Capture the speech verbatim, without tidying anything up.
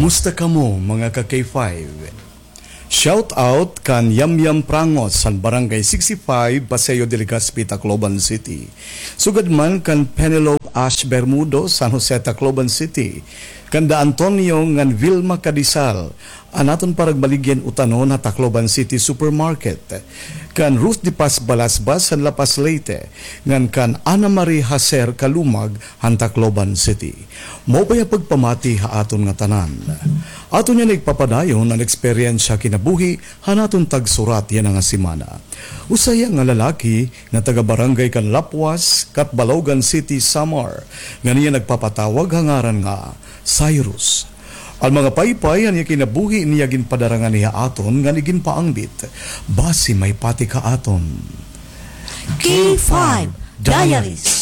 Kumusta kamo, mga ka-K five? Shout out kan Yamyam Prangos han Barangay sixty-five, Paseo de Legazpi, Tacloban City. Sugad man kan Penelope Ash Bermudo, San Jose, Tacloban City. Kan Da Antonio ngan Vilma Cadizal, an aton paragbaligyan utanon ha Tacloban City Supermarket. Kan Ruth de Paz Balasbas han La Paz, Leyte, ngan kan Ana Marie Hacer Kalumag han Tacloban City. Maupay nga pagpamati ha aton nga tanan. Aton yana igpapadayon an eksperyensya kinabuhi han aton tagsurat yana nga semana. Usa hiya nga lalaki nga taga-barangay kan Lapuas, Catbalogan City, Samar, ngan iya nagpapatawag ha ngaran nga Cyrus. An mga paypay han iya kinabuhi niya ginpadara ngani ha aton ngan iginpaangbit basi maipatik ha aton. K five Diaries.